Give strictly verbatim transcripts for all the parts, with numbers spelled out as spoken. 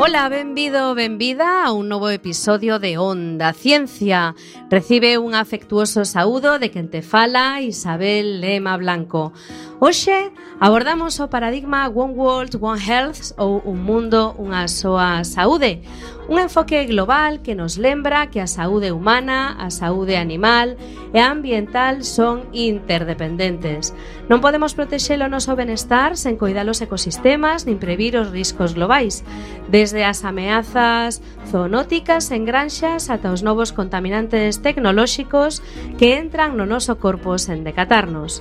Ola, benvido, benvida a un novo episodio de Onda Ciencia. Recibe un afectuoso saúdo de quen te fala, Isabel Lema Blanco. Hoxe abordamos o paradigma One World, One Health ou un mundo, unha soa saúde. Un enfoque global que nos lembra que a saúde humana, a saúde animal e a ambiental son interdependentes. Non podemos protexer o noso benestar sen coidar os ecosistemas nin previr os riscos globais, desde as ameazas zoonóticas en granxas ata os novos contaminantes tecnolóxicos que entran no noso corpo sen decatarnos.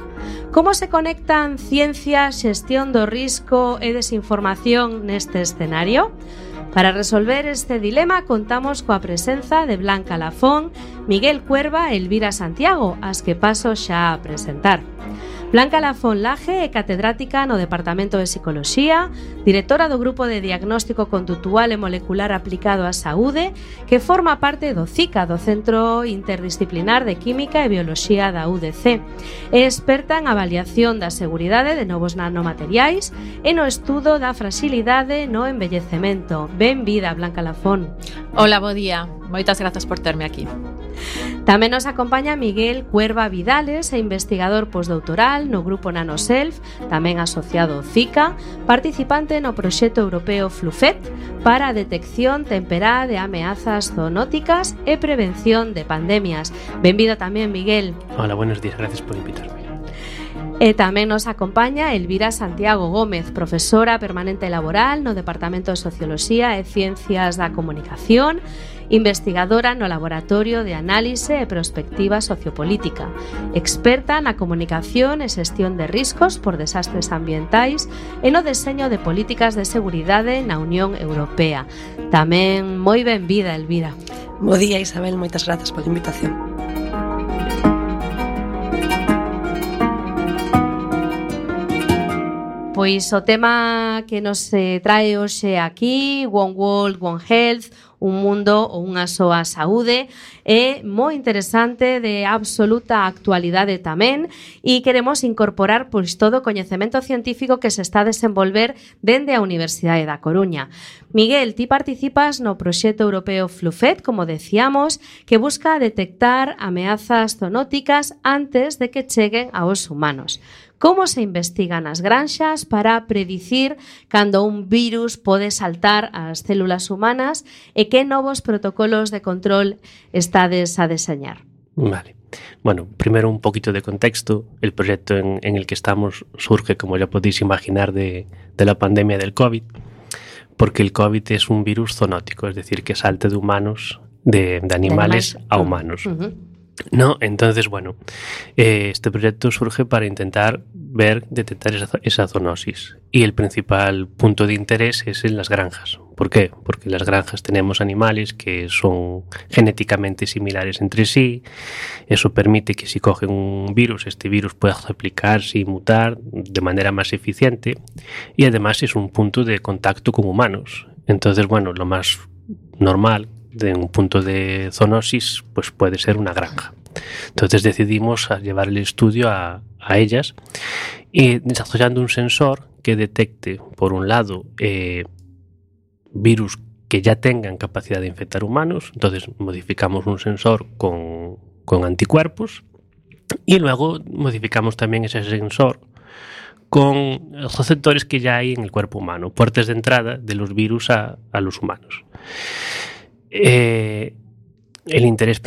Como se conectan ciencia, xestión do risco e desinformación neste escenario? Para resolver este dilema contamos coa presenza de Blanca Lafón, Miguel Cuerva e Elvira Santiago, as que paso xa a presentar. Blanca Lafón Laje é catedrática no Departamento de Psicoloxía, directora do Grupo de Diagnóstico Conductual e Molecular Aplicado á Saúde, que forma parte do C I C A, do Centro Interdisciplinar de Química e Bioloxía da U D C. É experta en avaliación da seguridade de novos nanomateriais e no estudo da fragilidade no envellecemento. Benvida, Blanca Lafón. Hola, bo día. Moitas grazas por terme aquí. Tamén nos acompaña Miguel Cuerva Vidales, é investigador postdoutoral no Grupo Nanoself, tamén asociado ao C I C A, participante no proxecto europeo FLUFET para a detección temperá de ameazas zoonóticas e prevención de pandemias. Benvido tamén, Miguel. Hola, buenos días, gracias por invitarme. E tamén nos acompaña Elvira Santiago Gómez, profesora permanente laboral no Departamento de Socioloxía e Ciencias da Comunicación, investigadora no Laboratorio de Análise e Prospectiva Sociopolítica, experta na comunicación e xestión de riscos por desastres ambientais e no deseño de políticas de seguridade na Unión Europea. Tamén moi benvida, Elvira. Bo día, Isabel, moitas grazas pola invitación. Pois o tema que nos trae hoxe aquí, One World, One Health, un mundo ou unha soa saúde, é moi interesante, de absoluta actualidade tamén, e queremos incorporar pois todo o coñecemento científico que se está a desenvolver dende a Universidade da Coruña. Miguel, ti participas no proxecto europeo FLUFET, como decíamos, que busca detectar ameazas zoonóticas antes de que cheguen aos humanos. Como se investigan as granxas para predicir cando un virus pode saltar ás células humanas e que novos protocolos de control estades a deseñar? Vale. Bueno, primero un poquito de contexto. El proyecto en, en el que estamos surge, como ya podéis imaginar, de, de la pandemia del COVID, porque el COVID es un virus zoonótico, es decir, que salta de humanos, de, de animales a humanos. Uh-huh. No, entonces, bueno, eh, este proyecto surge para intentar ver, detectar esa, esa zoonosis. Y el principal punto de interés es en las granjas. ¿Por qué? Porque en las granjas tenemos animales que son genéticamente similares entre sí. Eso permite que si cogen un virus, este virus pueda replicarse y mutar de manera más eficiente. Y además es un punto de contacto con humanos. Entonces, bueno, lo más normal de un punto de zoonosis pues puede ser una granja. Entonces decidimos a llevar el estudio a, a ellas y desarrollando un sensor que detecte, por un lado, eh, virus que ya tengan capacidad de infectar humanos. Entonces modificamos un sensor con, con anticuerpos y luego modificamos también ese sensor con los receptores que ya hay en el cuerpo humano, puertas de entrada de los virus a, a los humanos. Eh, el interés